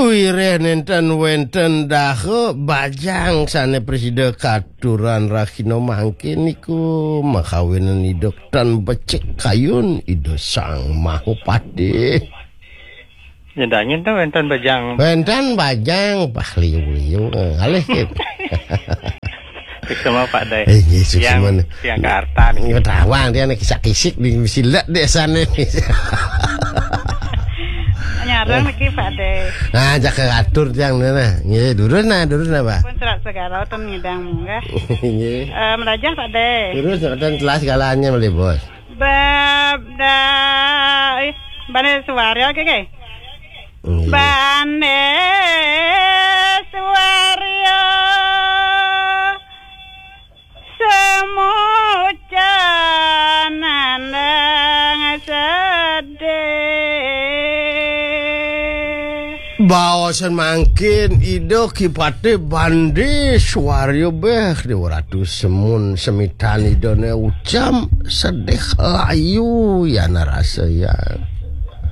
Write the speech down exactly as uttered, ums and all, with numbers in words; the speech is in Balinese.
Wiréh nénten wénten daha bajang sané prasida katuran rahina mangkin niku, makawinan Ida tan becik kayun Ida Sang Mahapatih. Nyedanyen to wénten bajang. Wénten bajang, pah liu-liu, ngalih gitu. Suksma, Pak Dé. Eh, nggih, suksma. Tiang, tiang kaarta niki. Nggih, tawang tiang niki kisik-kisik di silet dek sana nih. Nyarang niki, Pak Dé. Nah, jaga atur tiang nah. Nggih, durus nah, durus nah, Pak. Pun serat segala ten ngidang munggah. Nggih. Eh, melajah, Pak Dé. Durus, ten telas segalanya, Bos. Bab da, ih, Bane Suwaryo, oke, oke. Nggih. Bane Suwaryo semucan nandang sedih. Baosan mangkin Ida Ki Patih Bande Suwaryo béh, Déwa Ratu Semun semitan Idane ucam sedih layu yana rasa ya.